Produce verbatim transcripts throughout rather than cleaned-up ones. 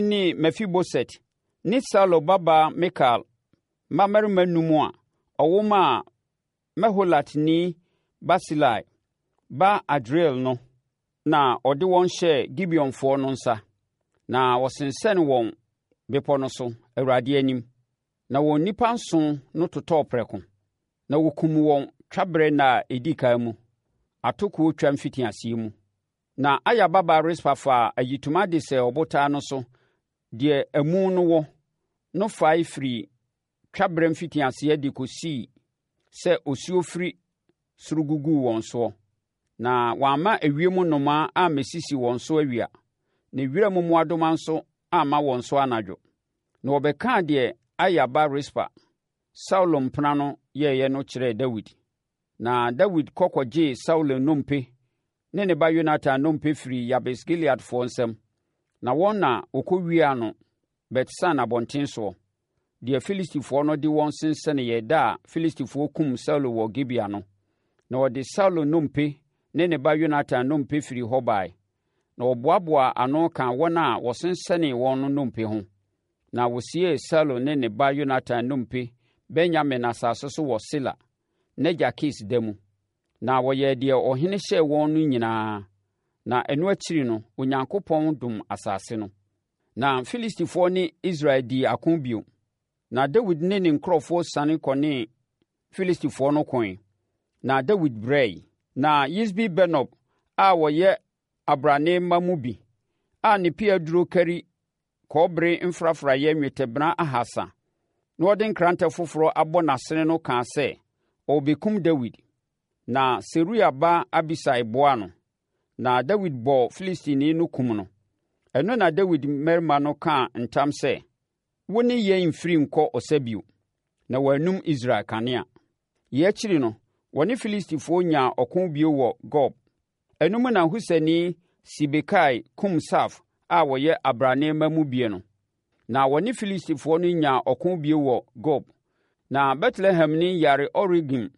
Ne Mefiboset ne Saulo babaa Mikal mmammarima nnum a ɔwo maa Meholatni Barsilai ba Adriel no na ɔde wɔn hyɛɛ Gibeonfoɔ no nsa, na wɔsensɛnee wɔn bepɔ no so, Awurade anim. Na wɔn nnipa nson no totɔɔ prɛko. Na wɔkumm wɔn twaberɛ nna a ɛdi ɛkan mu, atokoɔ twa mfitiaseɛ mu. Na Aya babaa Rispa faa ayitoma de sɛɛ ɔbotan no so deɛ amu no wɔ no fae firii twaberɛ mfitiaseɛ de kɔsii sɛ osuo firi soro guguu wɔn soɔ. Na wamma ewiem nnomaa ammɛsisi wɔn so awia, na wiram mmoadoma nso amma wɔn so anadwo. Na wɔbɛkaa deɛ Aya ba Rispa, Saulo mpena no yɛeɛ no kyerɛɛ Dawid. Na Dawid kɔ kɔgyee Saulo nnompe ne ne ba Yonatan nnompe firii Yabes Gileadfoɔ nsam, na wɔn na wɔkɔwiaa no Bet-San abɔntene soɔ, deɛ Filistifoɔ no de wɔn sensɛneeɛ da a Filistifoɔ kumm Saulo wɔ Gibea no. Na wɔde Saulo nnompe ne ne ba Yonatan nnompe firii hɔ baeɛ, na wɔboaboaa ano kaa wɔn a wɔsensɛnee wɔn no nnompe ho. Na wɔsiee Saulo ne ne ba Yonatan nnompe Benyamin asase so wɔ Sela, n'agya Kis da mu. Na wɔyɛɛ deɛ ɔhene hyɛɛ wɔn no nyinaa. Na ɛno akyiri no, Onyankopɔn dom asase no. Na Filistifoɔ ne Israel dii ako bio. Na Dawid ne ne nkurɔfoɔ siane kɔnee Filistifoɔ no koe. Na Dawid brɛe. Na Yisbi-Benob a ɔyɛ abrane mma mu bi, a ne pea duro kari kɔbere mfrafraeɛ nnwetɛbena ahasa, na ɔde nkrantɛ foforɔ abɔ n'asene no kaa sɛ ɔrebɛkum Dawid. Na Seruia ba Abisai boaa no, na Dawid bɔɔ Filistini no kum no. Ɛno na Dawid mmarima no kaa ntam sɛ, Wo ne yɛn mfiri nkɔ ɔsa bio, na wɔannum Israel kanea. Yei akyiri no, wɔne Filistifoɔ nyaa ɔko bio wɔ Gob. Ɛno mu na Husani Sibekai kum Saf a ɔyɛ abrane mma mu bie no. Na wɔne Filistifoɔ no nyaa ɔko bio wɔ Gob. Na Betlehemni Yaare-Oregim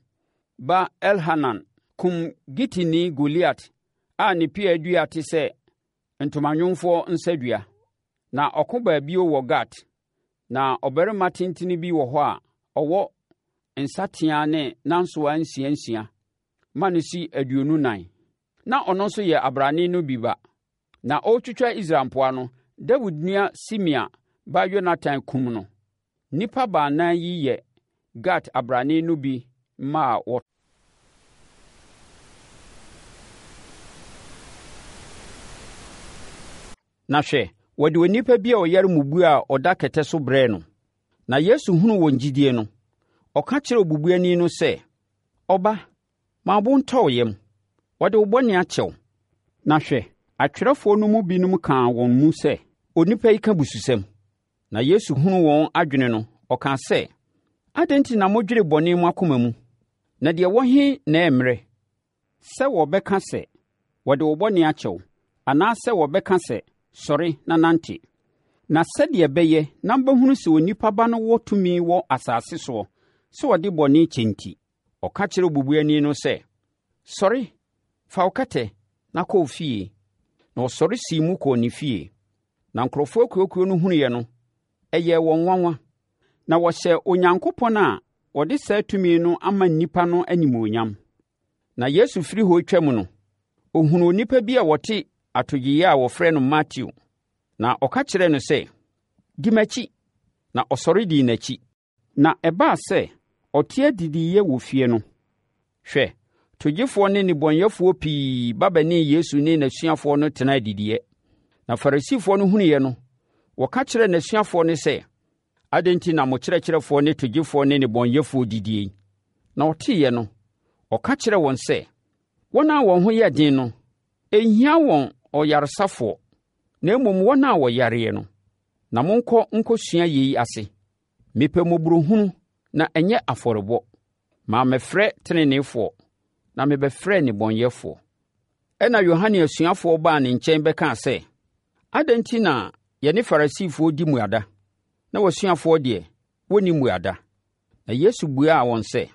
ba Elhanan kum Gitini Goliat a ne pea dua te sɛ ntomanwomfoɔ nsadua. Na ɔko baa bio wɔ Gat. Na ɔbarima tentene bi wɔ hɔ a ɔwɔ nsateaa ne nansoaa nsia nsia ma no si aduonu nan. Na ɔno nso yɛ abrane no bi ba. Na ɔretwitwa Israel mpoa no, Dawid nua Simea ba Yonatan kumm no. Nnipa baanan yi yɛ Gat abrane no bi mma a wɔ. Na hwɛ, wɔde onipa bi a ɔyare mmubuo a ɔda kɛtɛ so brɛɛ no. Na Yesu hunuu wɔn gyidie no, ɔka kyerɛɛ obubuani no sɛ, Ɔba, ma wo bo ntɔ wo yam, wɔde wo bɔne akyɛ wo. Na hwɛ, atwerɛfoɔ no mu binom kaa wɔn mu sɛ, Onipa yi ka abususɛm. Na Yesu hunuu wɔn adwene no, ɔkaa sɛ, Adɛn nti na modwene bɔne mo akoma mu? Na deɛ ɛwɔ he na ɛyɛ mmerɛ, sɛ wɔbɛka sɛ, Wɔde wo bɔne akyɛ wo, anaasɛ wɔbɛka sɛ, Sɔre na nante? Na sɛdeɛ ɛbɛyɛ na mobɛhunu sɛ Onipa Ba no wɔ tumi wɔ asase soɔ sɛ ɔde bɔne kyɛ nti, ɔka kyerɛɛ obubuani no sɛ, Sɔre, fa wo kɛtɛ na kɔ wo fie. Na ɔsɔre sii mu kɔɔ ne fie. Na nkurɔfoɔ akuakuo no hunuiɛ no, ɛyɛɛ wɔn nwanwa, na wɔhyɛɛ Onyankopɔn a ɔde saa tumi no ama nnipa no animuonyam. Na Yesu firi hɔ retwam no, ɔhunuu onipa bi a ɔte atogyeeɛ a wɔfrɛ no Mateo, na ɔka kyerɛɛ no sɛ, Di m'akyi! Na ɔsɔre dii n'akyi. Na ɛbaa sɛ ɔte adidiiɛ wɔ fie no, hwɛ, togyefoɔ ne nnebɔneyɛfoɔ pii ba bɛnee Yesu ne n'asuafoɔ no tenaa adidiiɛ. Na Farisifoɔ no hunuiɛ no, wɔka kyerɛɛ n'asuafoɔ no sɛ, Adɛn nti na mo kyerɛkyerɛfoɔ ne togyefoɔ ne nnebɔneyɛfoɔ didie yi? Na ɔteeɛ no, ɔka kyerɛɛ wɔn sɛ, Wɔn a wɔn ho yɛ den no, ɛnhia wɔn ɔyaresafoɔ, na mmom wɔn a wɔyareɛ no. Na monkɔ nkɔsua yei ase. Mepɛ mmɔborɔhunu na ɛnyɛ afɔrebɔ. Mammɛfrɛ teneneefoɔ, na mebɛfrɛɛ nnebɔneyɛfoɔ. Ɛnna Yohane asuafoɔ baa ne nkyɛn bɛkaa sɛ, Adɛn nti na yɛne Farisifoɔ di mmuada, na w'asuafoɔ deɛ, wɔnni mmuada? Na Yesu buaa wɔn sɛ,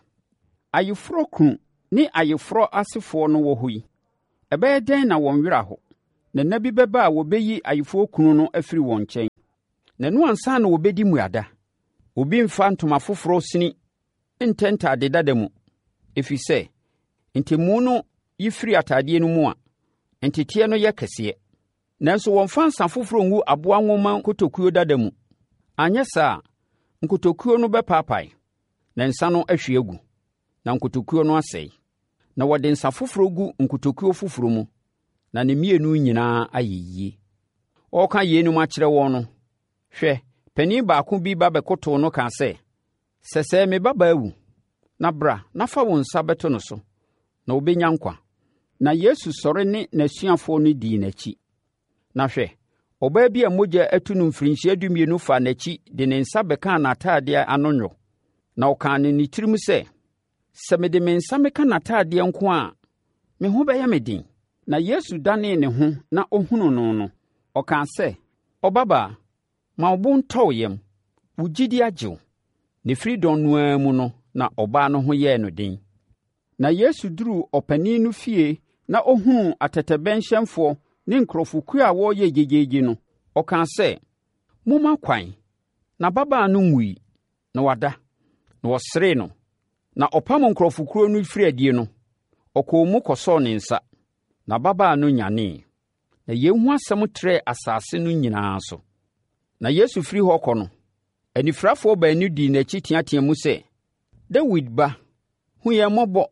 Ayeforɔ kunu ne ayeforɔ asefoɔ no wɔ hɔ yi, ɛbɛyɛ dɛn na wɔn werɛ aho? Na nna bi bɛba a wɔbɛyi ayeforɔ kunu no afiri wɔn nkyɛn. Na ɛno ansa na wɔbɛdi mmuada. Obi mfa ntoma foforɔ sini ntɛ ntade dada mu, ɛfiri sɛ, ntɛmu no yi firi atadeɛ no mu a, nteteɛ no yɛ kɛseɛ. Nanso wɔmfa nsã foforɔ ngu aboa nwoma nkotokuo dada mu. Anyɛ saa a, nkotokuo no bɛpaapae, na nsã no ahwie agu, na nkotokuo no asɛe. Na wɔde nsã foforɔ gu nkotokuo foforɔ mu, na ne mmienu nyinaa ayɛ yie. Ɔreka yeinom akyerɛ wɔn no, hwɛ, panin baako bi ba bɛkotoo no kaa sɛ, Sɛsɛɛ me babaa awu, na bra na fa wo nsa bɛto no so, na ɔbɛnya nkwa. Na Yesu sɔre ne n'asuafoɔ no dii n'akyi. Na hwɛ, ɔbaa bi a mogya atu no mfirinhyia dumienu faa n'akyi de ne nsa bɛkaa n'atadeɛ ano nnwo. Na ɔkaa no ne tirim sɛ, Sɛ mede me nsa meka n'atadeɛ nko a, me ho bɛyɛ me den. Na Yesu danee ne ho na ɔhunuu no no, ɔkaa sɛ, Ɔbabaa, ma wo bo ntɔ wo yam, wo gyidi agye wo. Na ɛfiri dɔn no ara mu no na ɔbaa no ho yɛɛ no den. Na Yesu duruu ɔpanin no fie na ɔhunuu atɛtɛbɛnhyɛnfoɔ ne nkurɔfokuo a wɔreyɛ gyegyeegye no, ɔkaa sɛ, Momma kwan, na ababaa no nwui, na wada. Na wɔseree no. Na ɔpam nkurɔfokuo no firi adie no, ɔkɔɔ mu kɔsɔɔ ne nsa, na ababaa no nyanee. Na yei ho asɛm trɛɛ asase no nyinaa so. Na Yesu firi hɔ kɔ no, anifirafoɔ baanu dii n'akyi teateaa mu sɛ, Dawid ba, hu yɛn mmɔbɔ.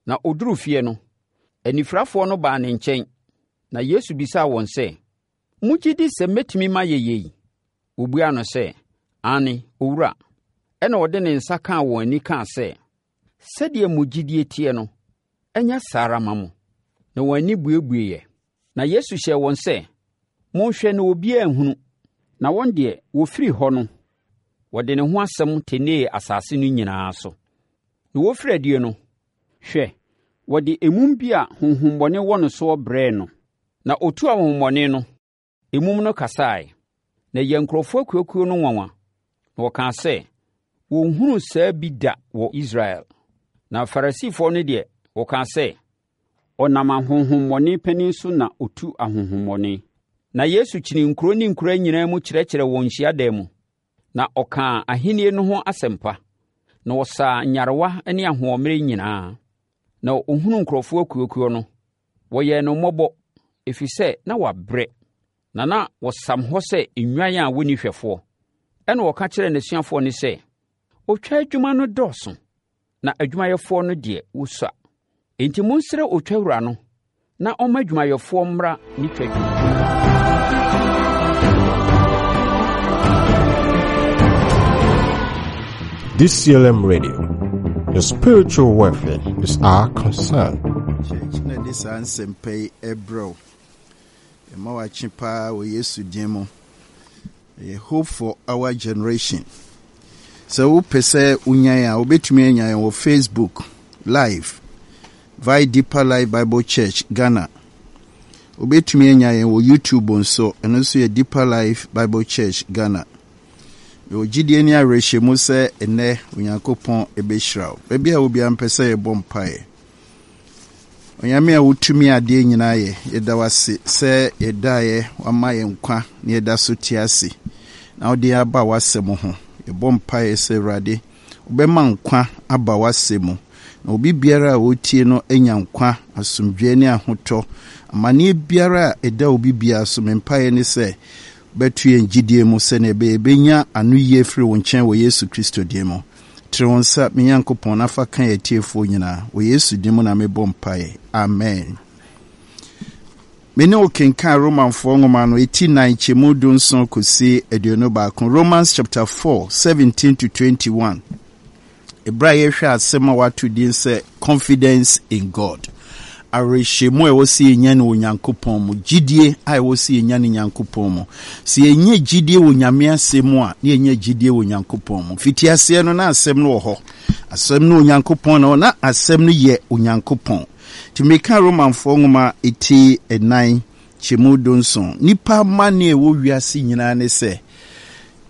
Na ɔduruu fie no, anifirafoɔ no baa ne nkyɛn, na Yesu bisaa wɔn sɛ, Mogye di sɛ mɛtumi mayɛ yei? Wɔbuaa no sɛ, Aane, Owura. Ɛnna ɔde ne nsa kaa wɔn ani kaa sɛ, Sɛdeɛ mo gyidie teɛ no, ɛnyɛ saa ara mma mo. Na wɔn ani buebueeɛ. Na Yesu hyɛɛ wɔn sɛ, Monhwɛ na obiara nhunu. Na wɔn deɛ, wɔfiri hɔ no, wɔde ne ho asɛm tenee asase no nyinaa so. Na wɔfiri adie no, hwɛ, wɔde emum bi a honhommɔne wɔ no soɔ brɛɛ no. Na ɔtuu ahonhommɔne no, emum no kasaeɛ. Na ɛyɛɛ nkurɔfoɔ akuakuo no nwanwa. Na wɔkaa sɛ, wɔnhunuu saa bi da wɔ Israel. Na Farisifoɔ no deɛ, wɔkaa sɛ, ɔnam ahonhommɔne panin so na ɔtu ahonhommɔne. Na Yesu kyinii nkuro ne nkuraa nyinaa mu kyerɛkyerɛɛ wɔn hyiadan mu. Na ɔkaa ahennie no ho asɛmpa. Na ɔsaa nyarewa ne ahoɔmmerɛ nyinaa. Na ɔhunuu nkurɔfoɔ akuakuo no, wɔyɛɛ no mmɔbɔ, ɛfiri sɛ na wɔabrɛ, na na wɔsam hɔ sɛ nnwan a wɔnni hwɛfoɔ. Ɛnna ɔka kyerɛɛ n'asuafoɔ no sɛ, Otwa adwuma no dɔɔso, na adwumayɛfoɔ no deɛ wɔsua. Enti monsrɛ otwa wura no na ɔmma adwumayɛfoɔ mmra ne twa dwuma. D C L M Radio, your spiritual welfare is our concern. Church na de saa nsɛmpa yi ɛbrɛ wo. Ɛma wakye paa wɔ Yesu din mu. Ɛyɛ Hope for Our Generation. Sɛ wopɛ sɛ wonyan a, wobɛtumi anya yɛn wɔ Facebook Live via Deeper Life Bible Church Ghana. Wobɛtumi anya yɛn wɔ YouTube nso, ɛno nso yɛ Deeper Life Bible Church Ghana. Mewɔ gyidie ne awerɛhyɛmu sɛ ɛnnɛ Onyankopɔn ɛbɛhyira wo. Baabi a obiara mpɛ sɛ yɛbɔ mpaeɛ. Onyame a wotumi adeɛ nyinaa yɛ, yɛda wo ase sɛ yɛdaeɛ wama yɛn nkwa na yɛda so te ase na wode yɛn aba w'asɛm ho. Yɛbɔ mpaeɛ sɛ Awurade wobɛma nkwa aba w'asɛm mu na obi biara a ɔretie no anya nkwa, asomdwoeɛ ne ahotɔ. Amanneɛ biara a ɛda obi biara so, me mpaeɛ ne sɛ bɛto yɛn gyidie mu sɛnea ɛbɛyɛ yɛbɛnya ano yie firi wo nkyɛn wɔ Yesu Kristo din mu. Tene wo nsa, me Nyankopɔn, na fa ka yɛn atiefoɔ nyinaa. Wɔ Yesu din mu na mebɔ mpaeɛ. Amen. Me ne wo kenkan Romanfoɔ nwoma no eti nan kyɛmu du nson kɔsi aduonu baako. Romans chapter four, seventeen to twenty-one. Ɛberɛ a yɛhwɛ asɛm a wato din sɛ Confidence in God. Awerɛhyɛmu a ɛwɔ sɛ yɛnya no wɔ Nyankopɔn mu, gyidie a ɛwɔ sɛ yɛnya no Nyankopɔn mu. Sɛ yɛnya gyidie wɔ Nyame asɛm mu a, na yɛnya gyidie wɔ Nyankopɔn mu. Fitiaseɛ no, na asɛm no wɔ hɔ. Asɛm no Onyankopɔn na na asɛm no yɛ Onyankopɔn. Nti meka Romanfoɔ nwoma eti ɛnan kyɛmu dunson. Nipa amanneɛ a ɛwɔ wiase nyinaa ne sɛ,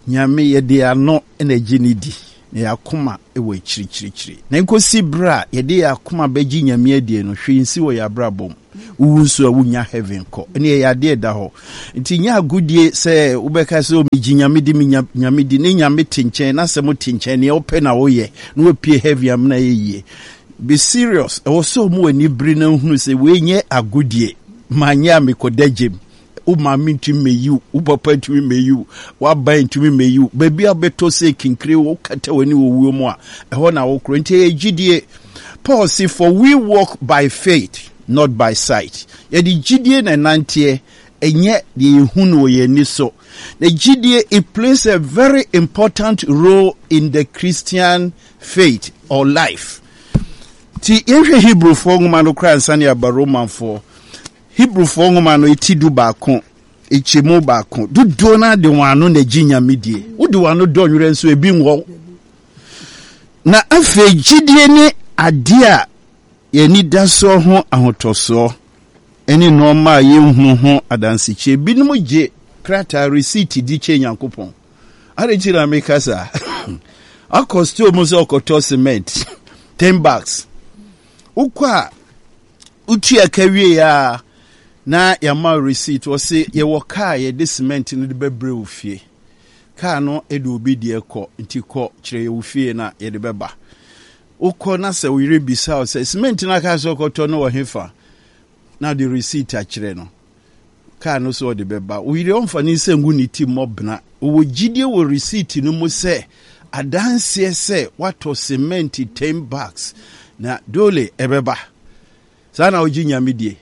Nyame yɛde ano na ɛgye ne di, na yɛn akoma wɔ akyirikyirikyiri. Na nkosi berɛ a yɛde yɛn akoma bɛgye Nyame adie no, hwee nsi wɔ yɛn abrabɔ mu. Wowu nso a, wonya heaven kɔ. Ɛne ɛyɛ adeɛ da hɔ. Nti nyɛ agodie sɛ wobɛka sɛ, "O, megye Nyame di, menya Nyame di," ne Nyame te nkyɛn na sɛ mote nkyɛn, neɛ wopɛ na woyɛ na wapue heaven amena yɛ yie. Be serious. Ɛwɔ sɛ ɔmo ani bere na nhunu sɛ wei nyɛ agodie. Manyɛ a, mekɔda gyem. Wo maame ntumi mmɛyi wo, wo papa ntumi mmɛyi wo, w'aban ntumi mmɛyi wo. Baabi a wobɛtɔ sɛ kinkire, wokata w'ani wɔ wuo mu a, ɛhɔ na wokorɔ. Nti ɛyɛ gyidie. Paul se, "For we walk by faith, not by sight." Yɛde gyidie na ɛnanteɛ, ɛnyɛ deɛ yɛhu no wɔ yɛn ani so. Na gyidie, it plays a very important role in the Christian faith or life. Nti yɛhwɛ Hebrewfoɔ nwoma no koraa nsa ne aba Romanfoɔ. Hebrewfoɔ nwoma no eti du baako ekyɛmu baako. Dodoɔ no de wɔn ano na gye Nyame die. Wode wɔn ano dɔ nwerɛ nso, ebi nwɔ. Na afei gyidie ne adeɛ a yɛni da soɔ ho ahotɔsoɔ, ɛne nneɛma a yɛnhunu ho adansekyie. Binom gye krataa receipt di kyɛ Nyankopɔn ade nti na meka saa. Akɔ store mu sɛ ɔkɔtɔ cement ten bags, wokɔ a, wotua ka wie a, na yɛama receipt. Wɔse yɛwɔ kaa yɛde cement no de bɛbrɛ wo fie. Kaa no de obi deɛ kɔ, nti kɔ kyerɛ yɛ wo fie na yɛde bɛba. Wokɔ na sɛ wo yere bisa wo sɛ cement no aka sɛ ɔkɔtɔ no wɔ hefa, na de receipt akyerɛ no, kaa no so ɔde bɛba. Wo yere ɔmfa ne nsa ngu ne ti mmɔ. Ɔwɔ gyidie wɔ receipt no mu sɛ adanseɛ sɛ watɔ cement ten bags na dole ɛbɛba. Saa na wogye Nyame die.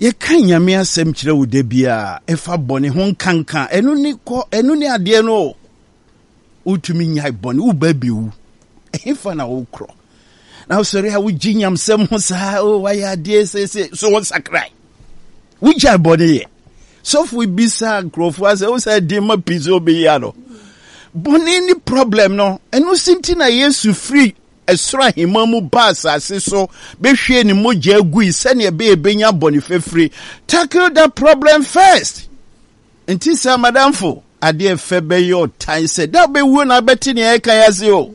Yɛka Nyame asɛm kyerɛ wo da biara, ɛfa bɔne ho nkanka. Ɛno ne kɔ, ɛno ne adeɛ no o. Wotumi nyae bɔne, woba bɛwu, ɛhefa na wokorɔ? Na wosɔre a, wogye nyamsɛm ho saa o, wayɛ adeɛ sese so, wo nsakrae, wogyae bɔne yɛ. Sɔfo bisa nkurɔfoɔ asɛ wo sɛ de ma pii sɛ wobɛyi ano. Bɔne ne problem no. Ɛno si nti na Yesu firi ɛsoro ahemma mu ba asase so bɛhwie ne mogya agui sɛnea ɛbɛyɛ bɛnya bɔne fafiri. Tackle that problem first. Nti sɛ madamfo, adeɛ fɛ bɛyɛ ɔtan sɛ da wobɛwuo na wobɛte nea ɛka yɛ ase o.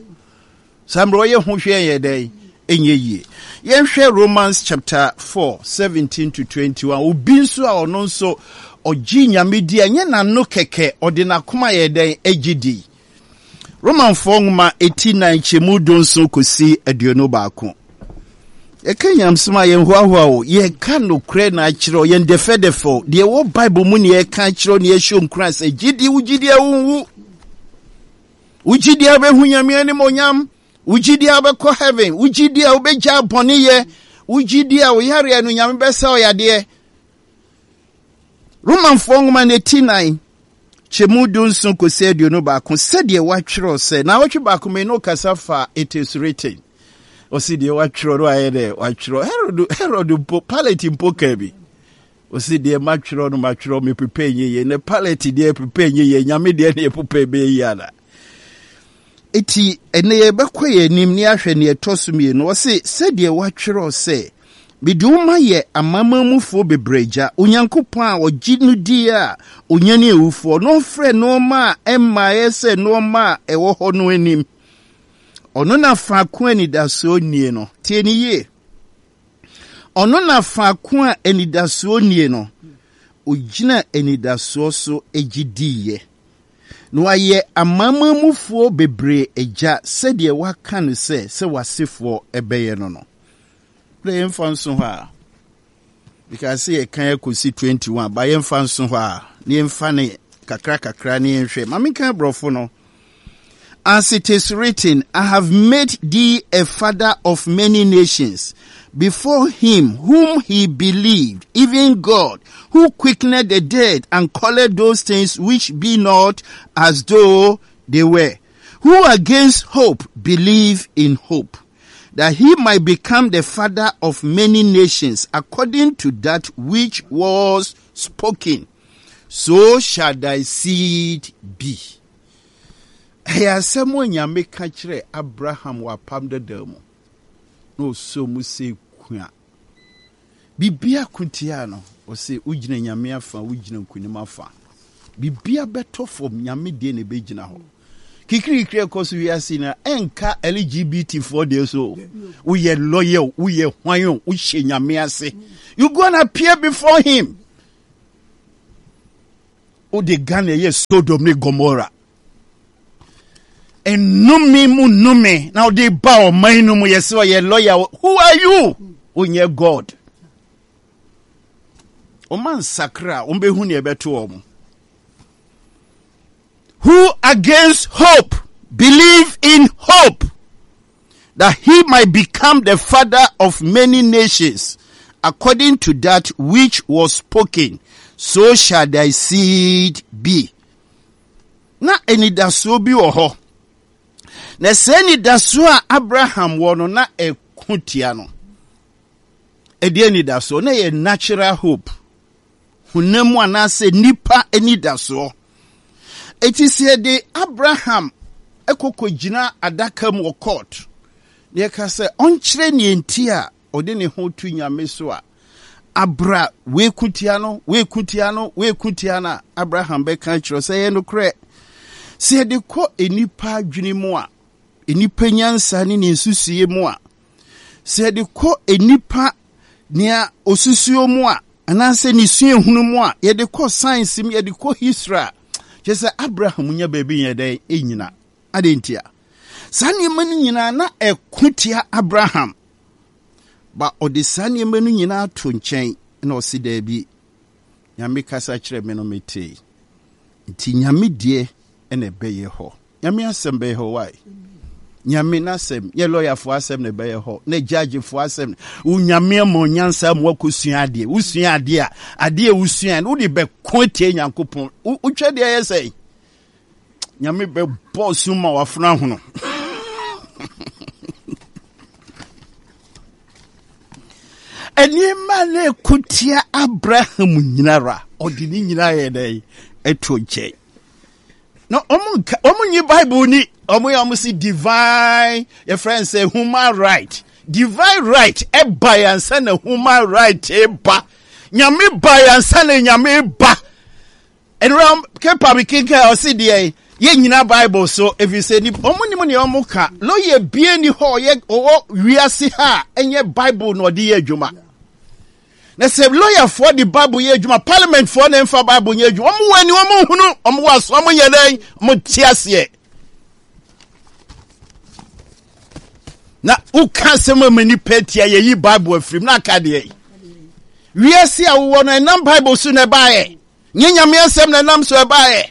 Saa mmerɛ ɔyɛ ho hwɛ yɛ dɛn, ɛnyɛ yie. Yɛnhwɛ Romans chapter four seventeen to twenty-one. Obi nso a ɔno nso ɔgye Nyame di a, ɛnyɛ n'ano kɛkɛ, ɔde n'akoma yɛ dɛn, agye di. Romanfoɔ nwoma eti nan kyɛmu dunson kɔsi aduonu baako. Yɛka nyamsom a, yɛnhoahoa o. Yɛka nokorɛ na akyerɛ, yɛn dɛfɛdɛfɛ deɛ ɛwɔ Bible mu ne yɛka akyerɛ ne yɛhyɛ nkura sɛ gyidi, wo gyidi a, wonwu. Wo gyidi a, wobɛhu Nyame animonyam. Wo gyidi a, wobɛkɔ heaven. Wo gyidi a, wobɛgya bɔneyɛ. Wo gyidi a, wo yareɛ no, Nyame bɛsa wo yadeɛ. Romanfoɔ nwoma no eti nan kyɛmu dunson kɔsi aduonu baako. Sɛdeɛ wɔatwerɛ sɛ, na wɔtwe baako mi no kasa fa "it is written". Ɔsi deɛ wɔatwerɛ no ayɛ dɛ wɔatwerɛ. herod herod mpo, Pilate mpo kaa bi. Ɔsi deɛ matwerɛ no, matwerɛ, mepepa nyɛ yie. Ne Pilate deɛ pepa nyɛ yie, Nyame deɛ ne yɛpepa bɛyɛ yie ana? Eti ɛnɛ yɛbɛkɔ yɛn anim ne ahwɛ neɛ ɛtɔ so mmienu. Ɔse, sɛdeɛ wɔatwerɛ sɛ, "Mede wo ma yɛ amanamanmufoɔ bebree agya." Onyankopɔn a ɔgye no die a onyane awufoɔ na ɔfrɛ nneɛma a ɛmmaeɛ sɛ nneɛma a ɛwɔ hɔ no anim, ɔno na faako a anidasoɔ nie no. Tie ne yie. Ɔno na faako a anidasoɔ nie no, ogyina anidasoɔ so gye diiɛ na wayɛ amanamanmufoɔ bebree agya, sɛdeɛ waka no sɛ sɛ w'asefoɔ ɛbɛyɛ no no Berɛ yɛmfa nso hɔ a, because sɛ yɛkan akɔsi twenty-one ba, yɛmfa nso hɔ a, na yɛmfa ne kakra kakra ne yɛnhwɛ. Ma menka aborɔfo no. "As it is written, I have made thee a father of many nations, before him whom he believed, even God, who quickened the dead and called those things which be not as though they were, who against hope believe in hope, that he might become the father of many nations, according to that which was spoken, So shall thy seed be." Ɛyɛ asɛm a Nyame ka kyerɛ Abraham wɔ Apam Dada mu na ɔsɔ mu sɛ kua biribia ko tia no. Ɔsɛ wogyina Nyame afa, wogyina nkonim afa. Biribia bɛtɔ fam, Nyame deɛ na ɛbɛgyina hɔ. Kikirikiri ɛkɔ so wiase na ɛnka L G B T foɔ deɛ so. Woyɛ lawyer o, woyɛ hwan o, wohyɛ Nyame ase. You gonna appear before him. Wode Ghana ɛyɛ Sodom ne Gomorrah. Nnome mu nnome na wode ba ɔman no mu. Yɛ sɛ ɔyɛ lawyer. Who are you? Wonyɛ God. Ɔma nsakra a wɔbɛhu nea ɛbɛto wɔn. Who against hope believe in hope that he might become the father of many nations, according to that which was spoken, so shall thy seed be. Na anidasoɔ bi wɔ hɔ, na sɛ anidasoɔ a Abraham wɔ no na ɛko tia no. Ɛde anidasoɔ na ɛyɛ natural hope, honam mu anaasɛ nipa anidasoɔ. Eti sɛ yɛde Abraham ɛkɔkɔ gyina adaka mu wɔ court na yɛka sɛ ɔnkyerɛ nea nti a ɔde ne ho to Nyame so a, abra weku tia no, weku tia no, weku tia no a, Abraham bɛka kyerɛ sɛ ɛyɛ nokorɛ. Sɛ yɛde kɔ nnipa adwene mu a, nnipa nyansa ne ne nsusuie mu a, sɛ yɛde kɔ nnipa nea osusuo mu a, anaasɛ ne suahunu mu a, yɛde kɔ science mu, yɛde kɔ history a, kyerɛ sɛ Abraham nya baabi nyɛ dɛn ɛnyina ade ntia saa nneɛma no nyinaa na ɛko tia Abraham ba. Ɔde saa nneɛma no nyinaa to nkyɛn na ɔsi daabi, Nyame kasa kyerɛ me no metee, nti Nyame deɛ ɛna ɛbɛyɛ hɔ. Nyame asɛm bɛyɛ hɔ. Wae Nyame n'asɛm nyɛ lɔyafoɔ asɛm na ɛbɛyɛ hɔ na gyagyefoɔ asɛm. Wo Nyame ama onyansa ma wakɔsua adeɛ. Wosua adeɛ a, adeɛ a wosua no wode bɛko atie Nyankopɔn. Wotwa deɛ ɛyɛ sɛ Nyame bɛbɔ sum ma wafona hono. Nneɛma na ɛko tia Abraham nyinara, ɔde ne nyinaa yɛ dɛn? Ɛto nkyɛn. Na ɔmo nka, ɔmo nyi Bible ni. Ɔmo yɛ ɔmo si divine, yɛfrɛ n sɛ human right. Divine right ɛba yansa na human right ɛba. Nyame ba yansa na Nyame ba. Ɛnura kepa mi kenkan, ɔsi deɛ yɛn nyina Bible so efi sɛ ni ɔmo nim nea ɔmo ka. Lawyer bie ni hɔ ɔyɛ ɔwɔ wiase ha a ɛnyɛ Bible na ɔde yɛ adwuma. Na sɛ lawyerfoɔ de Bible yɛ adwuma, parliamentfoɔ na mfa Bible nyɛ adwuma. Ɔmo wɔ ani, ɔmo nhunu. Ɔmo wɔ aso, ɔmo nyɛ dɛn? Ɔmo te aseɛ. Na woka asɛm a ma nipa tia, yɛyi Bible afirim na aka deɛ wiase a wowɔ no ɛnam Bible so na ɛbaeɛ. Nyɛ Nyame asɛm na ɛnam so ɛbaeɛ.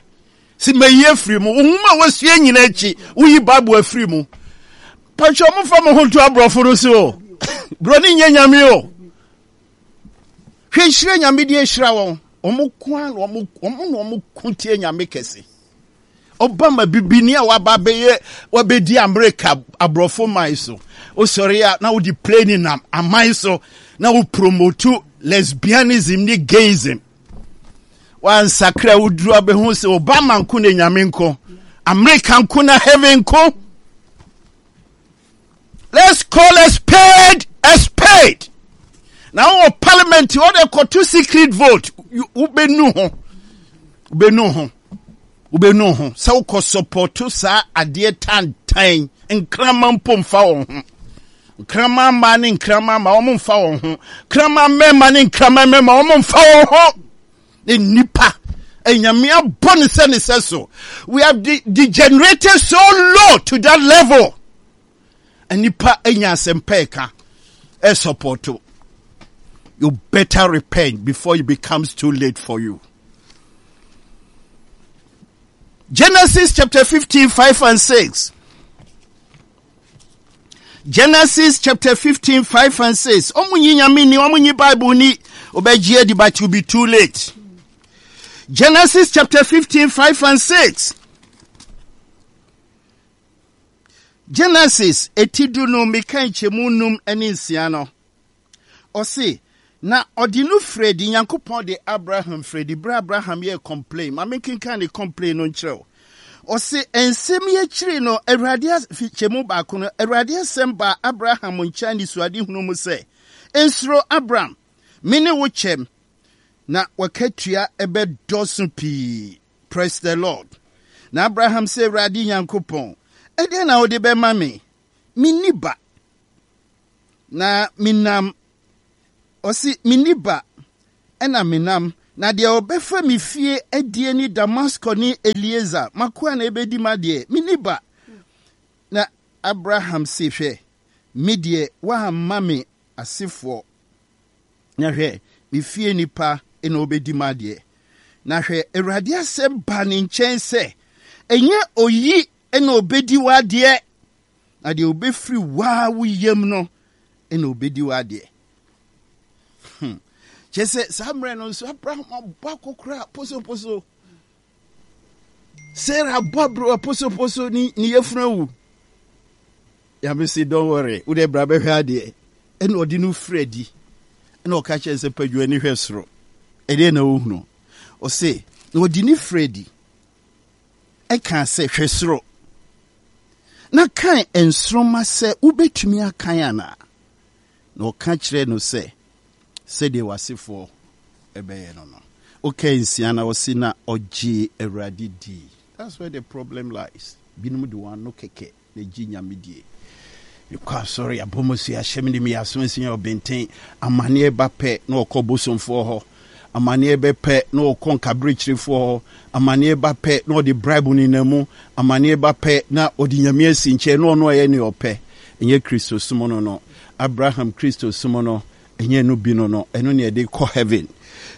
Si mayi afiri mu, wo nwoma a wasua nyina akyi, woyi Bible afiri mu. Patwɛ, ɔmofa mo ho to aborɔfo no so o. Buroni nyɛ Nyame o. Hwɛ nhyira Nyame de ahyira wɔn. Ɔmo ko a na ɔmo ɔmo na ɔmo ko tie Nyame kɛse. Obama bibini a waba bɛyɛ wabɛdi Amerika aborɔfo man so, wosɔre a na wode plane nam aman so na wo promote lesbianism ne gayism. Wansakra, woduru abɛhu sɛ Obama nko na Nyame nko, Amerika nko na heaven nko. Let's call a spade a spade. Na wɔ parliament wɔde kɔto secret vote, wobɛnu ho, wobɛnu ho, wobɛnu ho sɛ wokɔ support saa adeɛ tantan. Nkrama mpo mfa wɔn ho. Nkrama mmaa ne nkrama mmaa, wɔn mfa wɔn ho. Nkrama mmarima ne nkrama mmarima, wɔn mfa wɔn ho. Ne nipa Enyame abɔ ne sɛ ne sɛ so. We have de degenerated so low to that level. Nipa anya asɛmpa ɛka ɛsupport. You better repent before it becomes too late for you. Genesis chapter fifteen, five and six. Genesis chapter fifteen, five and six. Ɔmo nyi Nyame ni, ɔmo nyi Bible ni. Ɔbɛgye adi, but it will be too late. Genesis chapter fifteen, five and six. Genesis eti du no, meka nkyɛmu num ne nsia no. Ɔse, na ɔde no firi adi. Nyankopɔn de Abraham firi adi berɛ Abraham yɛ complain. Ma menkenkan ne complain no nkyerɛ wo. Ɔse, nsɛm yi akyiri no, Awurade kyɛmu baako no, Awurade asɛm baa Abraham nkyɛn ne suadehunu mu sɛ, "Nsuro, Abraham, me ne wo kyɛm, na wakatua ɛbɛdɔso pii." Praise the Lord. Na Abraham sɛ, Awurade Nyankopɔn, ɛdeɛn na wode bɛma me? Menni ba. Na menam, ɔse, menni ba, ɛna menam, na deɛ ɔbɛfa me fie adie ne Damasko ne Elieser, m'akoa na ɛbɛdi m'adeɛ. Menni ba. Na Abraham se, hwɛ, me deɛ woamma me asefoɔ. Na hwɛ, me fie nipa na ɔbɛdi m'adeɛ. Na hwɛ, Awurade asɛm baa ne nkyɛn sɛ, ɛnyɛ oyi na ɔbɛdi w'adeɛ, na deɛ ɔbɛfiri waa wo yam no na ɔbɛdi w'adeɛ. Hmm. Kyerɛ sɛ saa mmerɛ no nso Abraham abɔ akɔkora posoposo. Sarah abɔ aberewa posoposo ne ne yafunu awu. Nyame se don't worry, wo deɛ bra bɛhwɛ adeɛ. Ɛna ɔde no firi adi. Ɛna ɔka kyerɛ sɛ padwa ani hwɛ soro. Ɛdeɛ na wohunu. Ɔse na ɔde ne firi adi. Ɛka sɛ hwɛ soro. Na kan nsoromma sɛ wobɛtumi akan anaa? Na ɔka kyerɛ no sɛ sɛdeɛ w'asefoɔ ɛbɛyɛ no no. Ɔka nsia na ɔse na ɔgye Awurade dii. That's where the problem lies. Binom de wɔn ano kɛkɛ na gye Nyame die. Mekɔ asɔre, abɔ mo so ahyɛ me de meyɛ aso asia ɔbɛnten. Amanneɛ ba pɛ na ɔkɔ bosomfoɔ hɔ. Amanneɛ bɛ pɛ na ɔkɔ nkaberekyerefoɔ hɔ. Amanneɛ ba pɛ na ɔde bribe nenam mu. Amanneɛ ba pɛ na ɔde Nyame asi nkyɛn na ɔno ɔyɛ nea ɔpɛ. Ɛnyɛ Kristo som no no. Abraham Kristo som no, ɛnyɛ no bi no no. Ɛno ne ɛde kɔ heaven.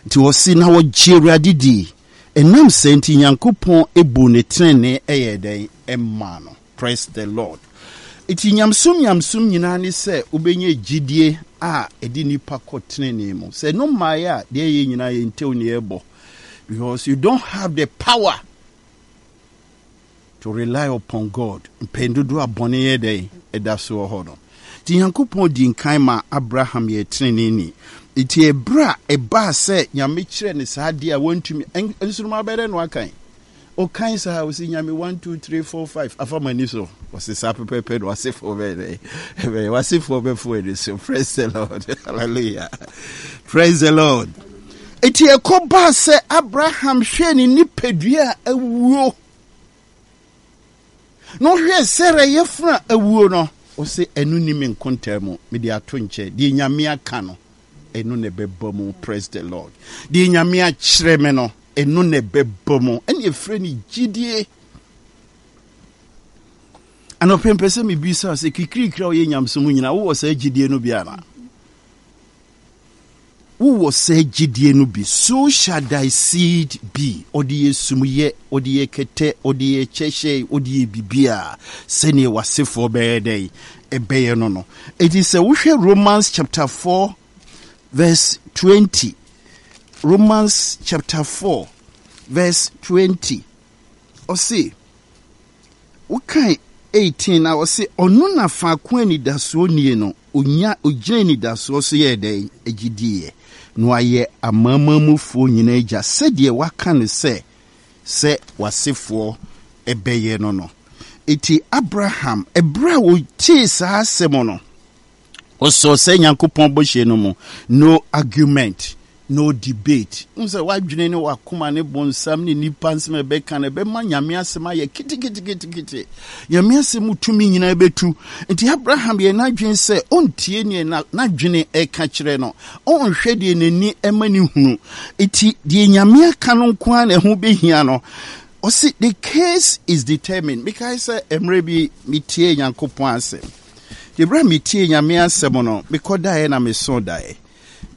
Nti ɔse na ɔgye Awurade dii. Ɛnam saa nti Nyankopɔn ebu ne tenenee ɛyɛ dɛn ɛmaa no. Praise the Lord. Nti nyamesom nyamesom nyinaa ne sɛ wobɛnya gyidie a ɛde nipa kɔ tenenee mu. Sɛ no mmaeɛ a, deɛ ɛyɛ nyinaa yɛ ntew ne yɛbɔ. Because you don't have the power to rely upon God. Mpɛn dodoɔ a bɔne yɛ dɛn ɛda so wɔ hɔ no. Nti Nyankopɔn di nkan ma Abraham yɛ teneneeni. Nti ɛberɛ a ɛbaa sɛ Nyame kyerɛ ne saa adeɛ a wantumi, nsoromma bɛyɛ dɛn na wakan? Ɔkan saa, ɔsi Nyame one two three four five afa m'ani so. Ɔsi saa pɛpɛpɛ na w'asefoɔ bɛyɛ dɛn? Ɛbɛyɛ w'asefoɔ bɛfo ani so. Praise the Lord. Hallelujah. Praise the Lord. Eti ɛkɔ baa sɛ Abraham hwɛɛ ne nipadua a awuo. Na ɔhwɛɛ Sarah yafunu a awuo no, ɔsɛ ɛno ni me nkontaa mu, mede ato nkyɛn. Deɛ Nyame aka no, ɛno na ɛbɛba mu. Praise the Lord. Deɛ Nyame akyerɛ me no, ɛno na ɛbɛba mu. Ɛne ɛfrɛ no gyidie. Anɔpɛ mpɛ sɛ mebisa sɛ kikirikiri a ɔyɛ nyamesom nyinaa, wowɔ saa gyidie no bi anaa? Wowɔ saa gyidie no bi? So shall thy seed be. Ɔde yɛ sumyɛ, ɔde yɛ kɛtɛ, ɔde yɛ kyɛhyɛ, ɔde yɛ biribiara sɛdeɛ w'asefoɔ bɛyɛ dɛn ɛbɛyɛ no no. Enti sɛ wohwɛ Romans chapter four verse twenty, Romans chapter four verse twenty, ɔse, wokan eighteen na ɔse, ɔno na faako anidasoɔ nie no, onya ogyina anidasoɔ so yɛɛ dɛn agye diiɛ, na wayɛ amanamanmufoɔ nyinaa agya, sɛdeɛ waka no sɛ, sɛ w'asefoɔ ɛbɛyɛ no no. Enti Abraham, ɛberɛ a ɔtee saa asɛm no, ɔsɔɔ sɛ Nyankopɔn bɔhyɛ no mu. No argument, no debate. Wohu sɛ w'adwene ne w'akoma ne bonsam ne nnipa nsɛm a ɛbɛka no ɛbɛma Nyame asɛm ayɛ keteketekete. Nyame asɛm mu tumi nyinaa bɛtu. Nti Abraham yɛ n'adwene sɛ ɔntie neɛ n'adwene ɛka kyerɛ no, ɔnhwɛ deɛ n'ani ɛma ne hunu. Nti deɛ Nyame aka no nko ara na ɛho bɛhia no. Ɔse the case is determined. Mekae sɛ mmerɛ bi metie Nyankopɔn asɛm. Nti berɛ a metie Nyame asɛm no, mekɔdaeɛ na mesoo daeɛ.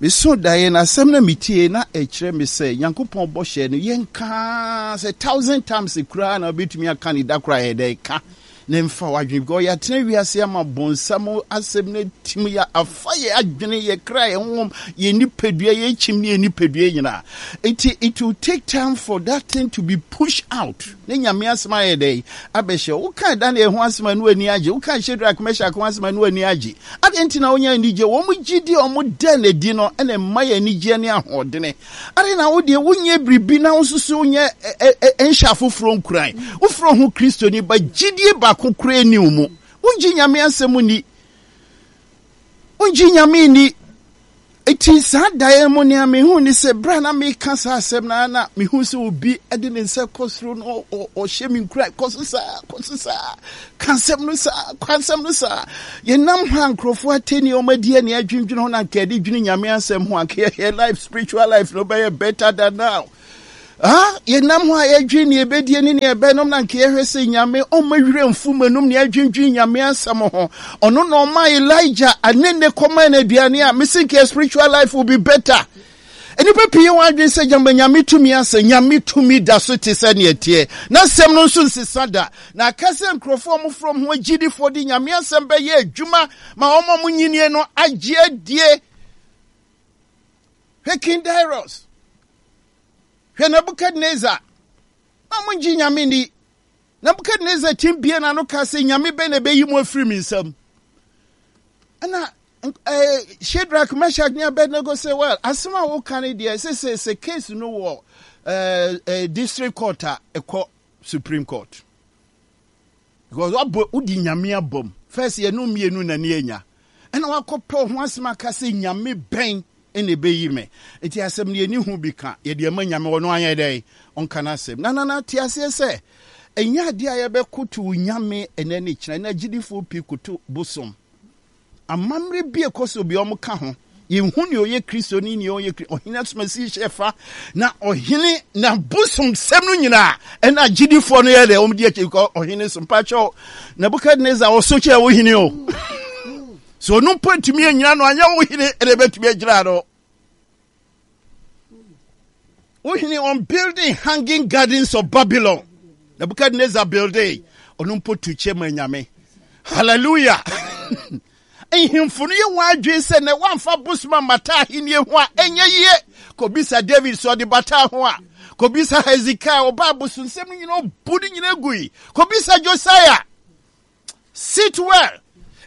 Mesoo daeɛ na asɛm no a metie na ɛkyerɛ me sɛ Nyankopɔn bɔhyɛ no yɛnka sɛ thousand times koraa na wobɛtumi aka ne da koraa yɛ dɛ ka na mfa w'adwene, because yɛatena wiase ama bonsam asɛm no atim yɛ afa yɛ adwene, yɛ kra, yɛ honhom, yɛ nipadua, yɛ kyim ne yɛ nipadua nyinaa. Nti it will take time for that thing to be pushed out. Ne Nyame asɛm ayɛ dɛn abɛhyɛ wo. Woka Daniel ho asɛm a na w'ani agye, woka Shadrach, Meshach ho asɛm a na w'ani agye. Adɛn nti na wonya anigye? Wɔn gyidi a wɔda no adi no na ɛma yɛ anigyeɛ ne ahoɔdene. Adɛn na wo deɛ wonyɛ biribi na wo nso so wonyɛ nhyɛ afoforɔ nkuran? Wofrɛ ho Kristoni ba, gyidie baako koraa nni wo mu. Wongye Nyame asɛm nni. Wongye Nyame nni. Eti saa daeɛ mu nea mehu ne sɛ berɛ a na meka saa asɛm no ara na mehu sɛ obi de ne nsa kɔ soro no ɔhyɛ me nkura kɔ so saa kɔ so saa ka asɛm no saa ka asɛm no saa. Yɛnam hɔ a nkurɔfoɔ atɛni wɔn adi ani adwendwene ho na anka yɛde dwene Nyame asɛm ho anka yɛ life spiritual life no bɛyɛ better than now. Ah, yɛnam hɔ a yɛdwen nea ɛbɛdie ne nea ɛbɛnom na nka yɛhwɛ sɛ Nyame ɔmma werɛ mfu m'anum nea adwendwen Nyame asɛm ho. Ɔno na ɔma Elijah anene kɔma no aduane a mese nka spiritual life will be better. Nnipa pii yɛ wɔn adwene sɛ gyama Nyame tumi asɛ. Nyame tumi da so te sɛ nea ɛteɛ. N'asɛm no nso nsesa da. Na aka sɛ nkurɔfoɔ a wɔfrɛ wɔn ho agyidifoɔ de Nyame asɛm bɛyɛ adwuma ma wɔn a wɔnyinie no agye adie. Hwɛ King Darius. Hwɛ Nebukadnesar. Na wɔngye Nyame nni. Nebukadnesar tim bie n'ano ka sɛ Nyame bɛn na ɛbɛyi mo afiri me nsam. Ɛna eh, Shadrach, Meshach ne Abednego sɛ, well, asɛm a woka no deɛ, sɛ sɛ sɛ case no wɔ eh, eh, district court a, ɛkɔ Supreme Court. Because wabɔ wodi Nyame abam. First yɛne wo mmienu na ne anya. Ɛna wakɔpɛ wo ho asɛm aka sɛ Nyame bɛn na ɛbɛyi me. Nti asɛm no yɛni ho bi ka. Yɛde ama Nyame ɔno anyɛ dɛn? Ɔnka n'asɛm. Na nana te aseɛ sɛ ɛnyɛ adeɛ a yɛbɛkoto Nyame ɛnɛ ne kyena. Ɛnɛ agyidifoɔ pii koto bosom. Amammerɛ bi a ɛkɔ so bi wɔn ka ho. Yɛnhu nea ɔyɛ Kristo ne nea ɔnyɛ Kristo. Ɔhene asomasi hyɛ fa na ɔhene na bosomsɛm no nyinaa ɛna agyidifoɔ no yɛ dɛ wɔn di akyi kɔ ɔhene so. Mpakyɛw Nebukadnezar ɔso kyɛ wo hene o. So ɔno mpo ntumi anyina no anyɛ wo hene ɛna ɛbɛtumi agyina no. Wo hene on building hanging gardens of Babylon. Nebuchadnezzar building. Ɔno mpo tu kyɛ ma nyame. Hallelujah. Nhemfo no yɛ wɔn adwene sɛ na wɔamfa bosom ammata ahenni ho a ɛnyɛ yie. Kɔbisa David sɛ ɔde bata ho a. Kɔbisa Hezekiah ɔbaa bosonsɛm no nyina ɔbu no nyina gui. Kɔbisa Josiah. Sit well.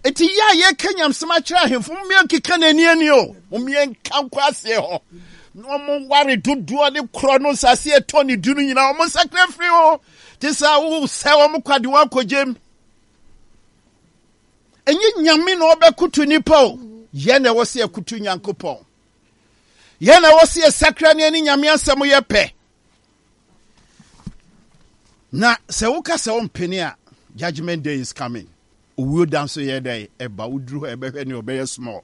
Eti yɛ a yɛka nyamsɛm akyerɛ ahemfo, mommea nkeka n'ani ani o. Mommea nka nkɔ aseɛ hɔ. Na wɔn ware dodoɔ ne korɔ no nsase ɛtɔ ne du no nyinaa, wɔn nsakra firi ho. Te sɛ wosɛ wɔn kwa de wɔn akɔgyem. Ɛnyɛ Nyame na ɔbɛkoto nipa o. Yɛn na ɛwɔ sɛ yɛkoto Nyankopɔn. Yɛn na ɛwɔ sɛ yɛsakra ne ɛne Nyame asɛm yɛ pɛ. Na sɛ woka sɛ wompene a, judgment day is coming. Owuo da nso yɛ dɛ ɛba, woduru hɔ ɛbɛhwɛ ne ɔbɛyɛ small.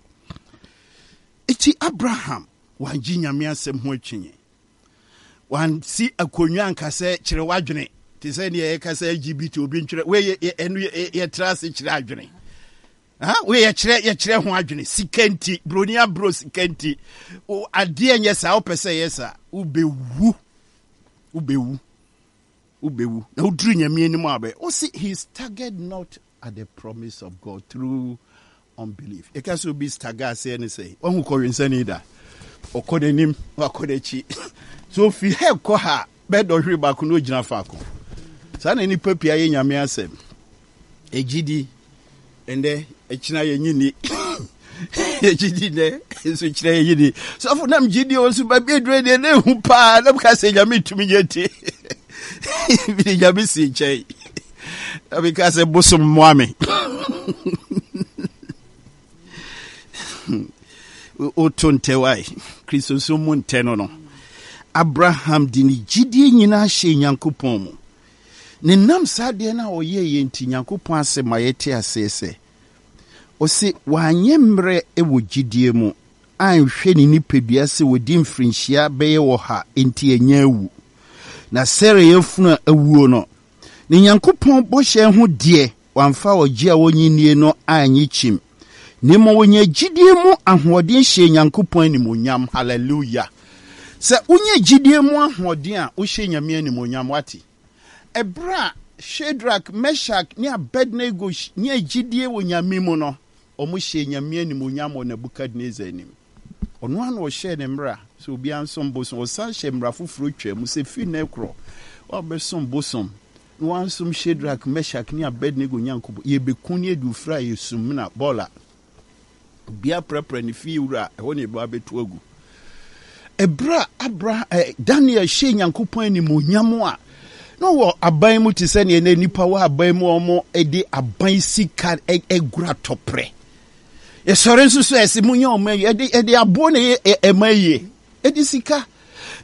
Eti Abraham wangye Nyame asɛm ho akyinnye. Wansi akonnwa anka sɛ kyerɛ w'adwene te sɛ nea yɛka sɛ L G B T obi ntwerɛ wei ɛno yɛtra ase kyerɛ adwene. Wei yɛkyerɛ yɛkyerɛ ho adwene sika nti broni aburo sika nti adeɛ nyɛ saa wopɛ sɛ yɛ saa wobɛwu wobɛwu wobɛwu na woduru Nyame anim a bɛ wosi he staggered not at the promise of God through unbelief. Yɛka sɛ obi stagger aseɛ ne sɛ wahu kɔwensani da ɔkɔ n'anim wakɔ n'akyi so ofi ha kɔ ha bɛdɔ hwere baako na ogyina faako. Saa na nipa pii ayɛ Nyame asɛm ɛgyidi ɛndɛ ɛkyina yɛnyi ni yɛgyidi nɛ nso kyerɛ yɛnyi ni sɔfo nam gyidi o nso baabi aduro deɛ na ehu paa na meka sɛ Nyame tumi nyɛ ti mede Nyame si nkyɛn na meka sɛ bosom mmoa me woto ntɛ wae Kristo nso mu ntɛ no no Abraham de ne gyidie nyinaa hyɛ Nyankopɔn mu. Ne nam saa adeɛ no a ɔyɛeɛ nti, Nyankopɔn asɛm ma yɛte aseɛ sɛ, ɔse, wanyɛ mmerɛ wɔ gyidie mu, anhwɛ ne nipadua sɛ wadi mfirinhyia bɛyɛ ɔha nti anya awu. Na Sara yafunu a awuo no, ne Nyankopɔn bɔhyɛ ho deɛ, wamfa ɔgye a ɔnnye nnie no annye kyim, na mmom ɔnyaa gyidie mu ahoɔden hyɛɛ Nyankopɔn animuonyam. Hallelujah! Sɛ wonya gyidie mu ahoɔden a, wohyɛ Nyame animuonyam. Wate? Ɛberɛ a Shadrach, Meshach ne Abednego nyaa gyidie wɔ Nyame mu no, wɔhyɛɛ Nyame animuonyam wɔ Nebuchadnezzar anim. Ɔno ara na ɔhyɛɛ ne mmara sɛ obiara nsom bosom. Ɔsan hyɛɛ mmara foforɔ twaa mu sɛ firi nnɛ rekorɔ, woabɛsom bosom na woansom Shadrach, Meshach ne Abednego Nyankopɔn, yɛbɛku ne adu frɛ a yɛ sumina bɔɔla. Obiara prapra ne fie wura a, ɛhɔ na yɛbɛba abɛto agu. Ɛberɛ a Abraham, eh, Daniel hyɛɛ Nyankopɔn animuonyam a, na ɔwɔ aban mu te sɛ neɛ na nnipa wɔ aban mu a wɔde aban sika agura tɔprɛ. Yɛsɔre nso so ɛsɛ mu nyɛ ɔma yie. Ɛde ɛde aboɔ na ɛyɛ ɛma yie. Ɛde sika.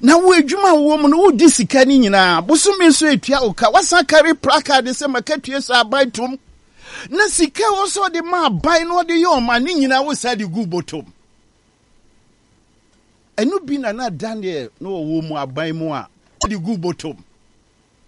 Na wo adwuma a wowɔ mu no wodi sika no nyinaa. Bosome nso etua wo ka. Wasan kari placard sɛ makatua sɛ aban tom. Na sika wɔ sɛ ɔde ma aban na ɔde yɛ ɔma ne nyinaa wo sa de gu bɔtɔm. Ɛno bi na na Daniel na ɔwɔ mu aban mu a ɔde gu bɔtɔm.